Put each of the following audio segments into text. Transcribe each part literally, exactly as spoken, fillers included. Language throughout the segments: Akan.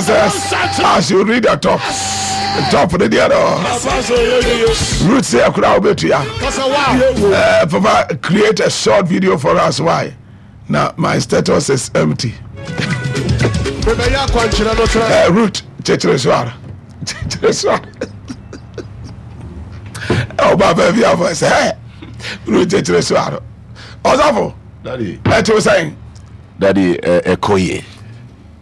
Success as you read the top top ne deɛ no root sɛ ɛkora wobɛtua. Uh, papa, create a short video for us. Why na my status is empty? uh, root kyekyere so ara, kyekyere so ara. Ɔba baabi afɔ sɛ root kyekyere so ara. Ɔsɔfo, ɛte wo sɛn? Daddy, ɛkɔ yie,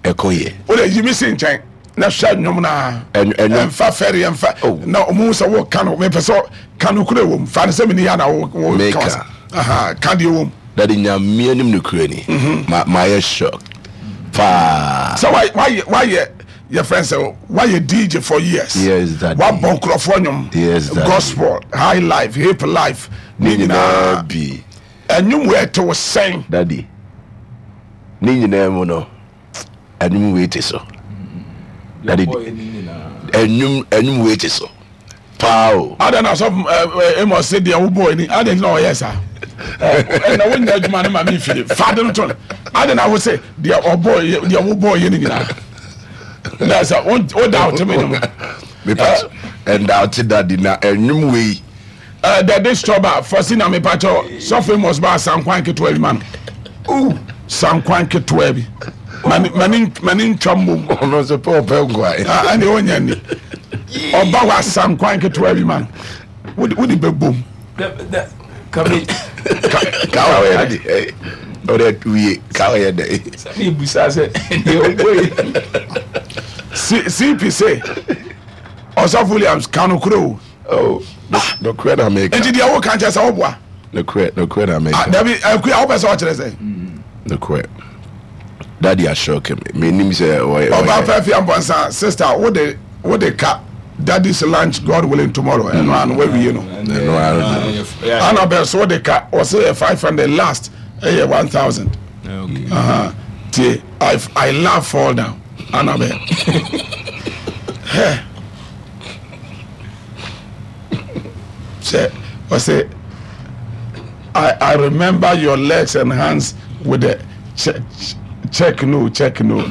ɛkɔ yie. O de yi mi si nkyɛn na hwɛ nnwom naa. Ɛnfa fɛri, ɛnfa na ɔmo sɛ wo ka no, mepɛ sɛ ka no kura wɔm fa ne sɛ mi ni ya na wo wo ka ka deɛ wɔm. Daddy, Nyame anim no kura ni ma ma yɛ shock paa. Sɛ wayɛ wayɛ yɛ fɛn sɛ wayɛ D J for years. Yes, Daddy. Wabɔ nkurɔfoɔ nnwom. Yes, Daddy. Gospel, high life, hip life ne nyinaa. Bi. Ɛnwom wɔ ɛte wo sɛn? Daddy, ne nyinaa mu no, ɛnwom wei te so. Daddy, ɛnwom ɛnwom wei te so paa o. Ada na sɔfo ɛ Amos sɛ deɛ wobɔ ani ada na ɔyɛ saa ɛna wonya adwuma no ma me mfiri fa de no to no. Ada na wo sɛ deɛ ɔbɔ, deɛ wobɔ yɛ no nyinaa na sɛ wo da wote me no. Mepa ɛnda ɔte, Daddy, na ɛnwom wei. Dɛde stɔba fɔsi na mepakyɛ sɔfo Amos ba sankwan ketewa bi ma no, sankwan ketewa bi mani mani ntwa mmom. Ɔno nso pɛ ɔpɛ nkwan. Ɛne ɔnya ni ɔba hɔ asankwan ketewa bi ma no, wode wode bɛbom. Kame. Ka ɔyɛ dɛ ɔdɛ wie ka ɔyɛ dɛ. Sɛ mebusa sɛ deɛ ɔbɔ yi. C P sɛ ɔsɔfo Williams ka no koro o. Nokorɛ na meka. Nti deɛ woka nkyɛ sɛ woboa. Nokorɛ, nokorɛ na meka. Dabi, akua wopɛ sɛ ɔkyerɛ sɛ. Nokorɛ, Daddy, asɔke me menim sɛ ɔyɛ. Ɔba fɛ fia mpɔnsa sister, wode wode ka Daddy's lunch, God willing, tomorrow. Ɛno ano wawie no. Ɛno ano. Annabel so wode ka, ɔsɛ yɛ five hundred last, ɛyɛ one thousand. Tie, I, I love fall down. Annabel hɛ sɛ ɔsɛ I, I remember your legs and hands with the check, check no, check no.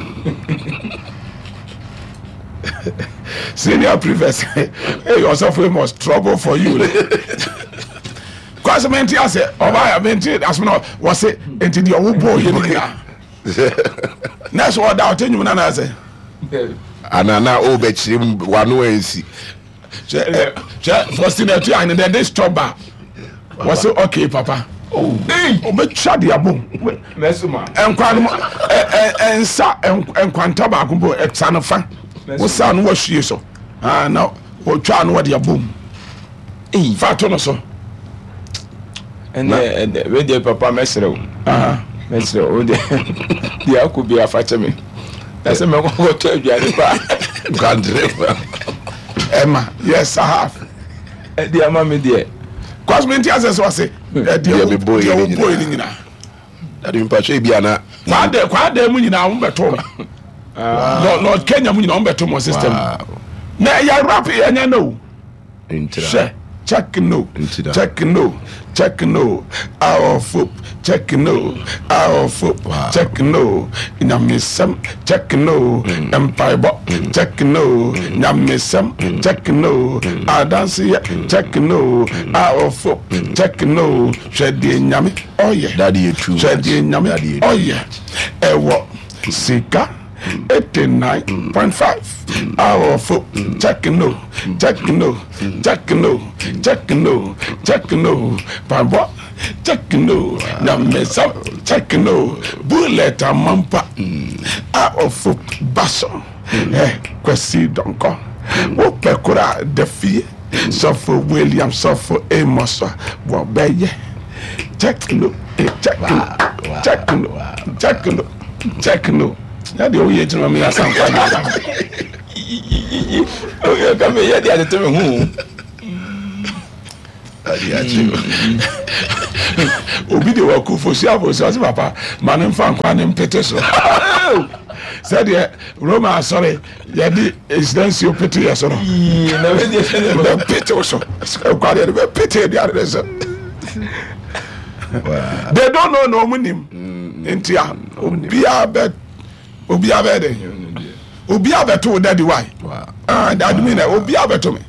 Senior prefect, hey, ɔsɔfo Amos, trouble for you. Kwasi menti ase ɔba ya menti asem na wɔse nti deɛ ɔwo bɔ yɛ no nyinaa nɛɛsɛ ɔda ɔte nwom na naasɛ. Ana na o bɛkyerɛ mu wano ansi. Hwɛ hwɛ, Faustina atu ahene dɛ de stop ba wɔse okay papa, ɔbɛtwa de abom nkwa no nsa nkwanta baako mpo ɛsa no fa wosa no wahwie so na wɔtwa no wɔde abom fa to no so. Ɛnɛ ɛnɛ wedeɛ, papa, mɛsrɛ wo, mɛsrɛ wo deɛ, deɛ akɔ bi afa kyɛ me na sɛ mɛkɔkɔtɔ aduane paa. Kwantere. Ɛma, yes, I have. Ɛdeɛ ama me deɛ. Kɔs mi nti asɛ sɛ ɔse deɛ wobɔ yi ne nyinaa. Daddy, mpatwa bi ana. Kwaada kwaada mu nyinaa wɔn bɛtɔ me Lord Kenya mu nyinaa wɔn bɛtɔ mo system na ɛyɛ rap, ɛnyɛ no hwɛ. Check no, check no, check no, awɔfo check no, awɔfo check no, nyamesɛm check no, mpaebɔ check no, nyamesɛm check no, adanseɛ check no, awɔfo check no, hwɛ deɛ Nyame ɔyɛ, hwɛ deɛ Nyame ɔyɛ, ɛwɔ sika eighty nine point five, awɔfo check no, check no, check no, check no, check no, mpaebɔ check no, nyamesɛm check no, bullet amampa a ɔfo ba so ɛ Kwasi Dɔnkɔ wopɛ kora da fie sɔfo William, sɔfo Amos a wɔbɛyɛ check no, check no, check no, check no, check no. Na deɛ woyɛ gyina mi asankwa deɛ ka meyɛ de atete me ho. Ade akyi. Obi de waku fosu afosu ɔsɛ papa ma ne nfa nkwa ne mpete so sɛdeɛ Roma asɔre yɛde nhyira nsuo pete yɛ so no, bɛpete wo so nkwa deɛ bɛpete aduane ne so. They don't know na ɔmo nim nti a obiara bɛ obiara bɛ de Obi abɛto wo daddy why? Ah, daddy mi na obi abɛto me.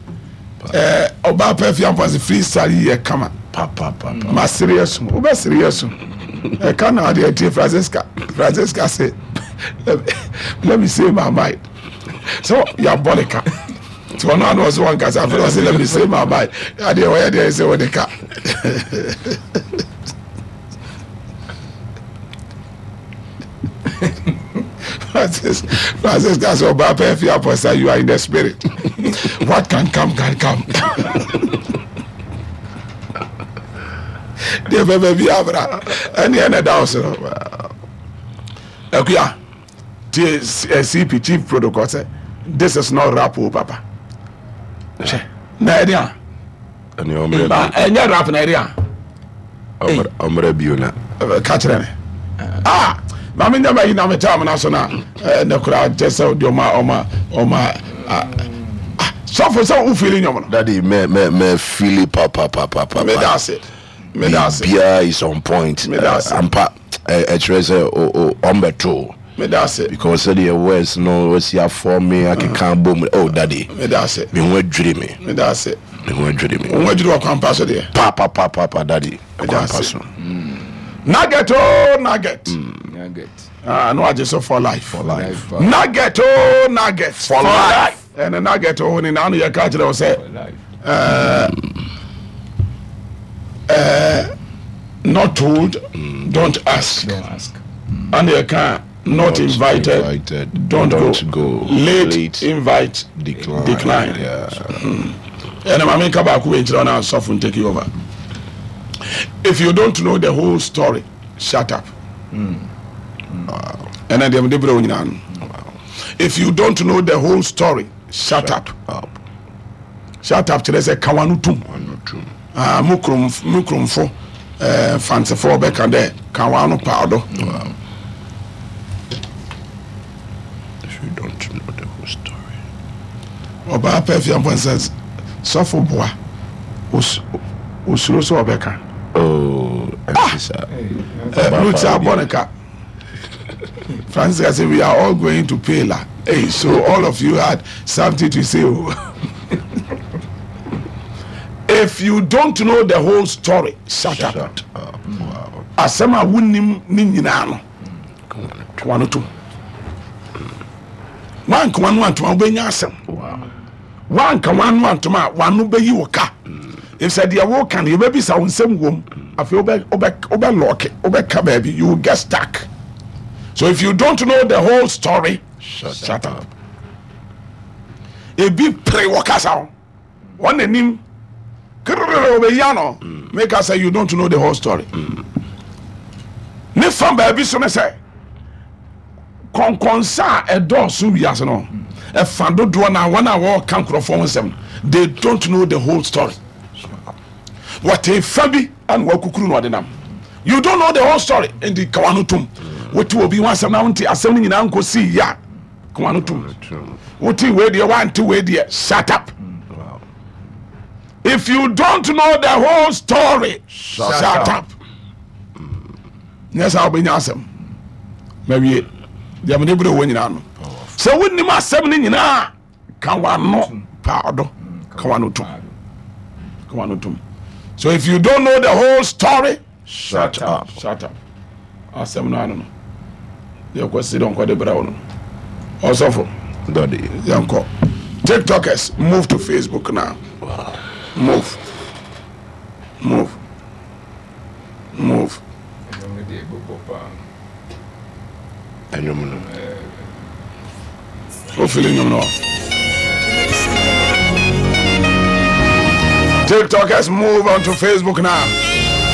Ɛɛ ɔbaa pɛ fi ampa sɛ freestyle yi yɛ kama. Ma sere yɛ so, wobɛ sere yɛ so. Ɛka na adeɛ tie Francisca. Francisca se, let me say my mind. So yɛabɔ ne ka. Nti ɔno ano ɔsɛ wɔn kasa afei ɔsɛ let me say my mind. Adeɛ wɔyɛ deɛ sɛ wɔde ka. Francis, Francis that's all about Apostle, you are in the spirit. What can come, can come. Deɛ bɛbɛ bi abra ɛne ɛna da wo so no akua tie C P, chief protocol, sɛ this is not rap o, papa. Hwɛ na ɛde a ɛnyɛ rap na ɛde a Ɔmmerɛ bio na Ka kyerɛ me, ah, maame nyama yi na me taa na so na ɛnɛ koraa kyɛ sɛ deɛ ɔma ɔma ɔma sɔfo sɛ wo feel nnwom no. Daddy, me me me feel pa pa pa pa pa. Meda ase, meda ase. Biribiara is on point. Meda ase. Ampa, ɛkyerɛ sɛ ɔmbɛto Meda ase. Because sɛdeɛ words no wasi afɔ me akeka bom, oh daddy. Meda ase. Me ho adwiri me. Meda ase. Me ho adwiri me. Wo ho adwiri wɔ kwan so deɛ. Pa pa pa pa pa, daddy. Meda kwan pa ase. So. Nugget oh nugget. Nugget. Ah, no agye so for life. For life. Nugget oh nugget. For life. Ɛnɛ nugget oh ne naano yɛ ka kyerɛ wo sɛ For life. uh, not told, don't ask. Don't ask. And you can not invited, invited, don't, don't go. go. Late, Late invite, decline. Decline. Yeah. Ɛna maame nka baako wei nkyerɛ na asɔfo take you over. If you don't know the whole story, shut up. Ɛna deɛ mede brɛ wo nyinaa no, if you don't know the whole story, shut up. Up. Shut up kyerɛ sɛ ka wano tom. One or two. Ah, mo kurom mo kuromfo ɛɛ fantefoɔ bɛka dɛ ka wano paado. If you don't know the whole story. Ɔbaa pɛ fia mpɔ sɛ sɔfo boa os- osuro sɛ ɔbɛka. Oh, ah. Uh, Ruth abɔ ne ka. Francis say we are all going to pay la. Hey, so all of you had something to say oh. If you don't know the whole story, shut up. Shut up. Wow. Asɛm a wonim ne nyinaa no, ka wano tom. Wanka wano antoma, wobɛnya asɛm. Wow. Wanka wano antoma a, wano bɛyi wo ka efisɛ deɛ woka no, yɛbɛbisa wo nsɛm wom. Afei wobɛ wobɛ wobɛlɔɔke, wobɛka baabi, you will get stuck. So if you don't know the whole story, Shut, shut up. Ebi pere wɔ kasa ho, wɔn n'anim kiriri obeyi ano meka sɛ you don't know the whole story. Ne fa baabi so ne sɛ kɔnkɔnsa a ɛdɔɔso wiase no, ɛfa dodoɔ na wɔn a wɔreka nkurɔfoɔ ho nsɛm, they don't know the whole story. Wɔte fa bi ɛna wɔakukuru na ɔde nam. You don't know the whole story, nti kawa no tom. Wote obi ho asɛm na wonte asɛm no nyinaa nkɔsii yɛ a, kawa no tom. Wote wei deɛ, wante wei deɛ, shut up. Wow. If you don't know the whole story, shut, shut up. Nyɛ saa wobɛnya asɛm. Mawie deɛ mede berɛ wɔ nyinaa no sɛ wonim asɛm no nyinaa, ka wano paado, ka wano tom, ka wano tom. So if you don't know the whole story, Shut up. Shut up. Asɛm no ano no yɛkɔ si dɛ nkɔde brɛ wo no, ɔsɔfo. Daddy. Yɛnkɔ. TikTokers, move to Facebook now. Move, move, move. Ɛno no deɛ ɛbɛbɔ paa. Ɛnwom no. Wofili nnwom no. TikTokers, move on to Facebook now.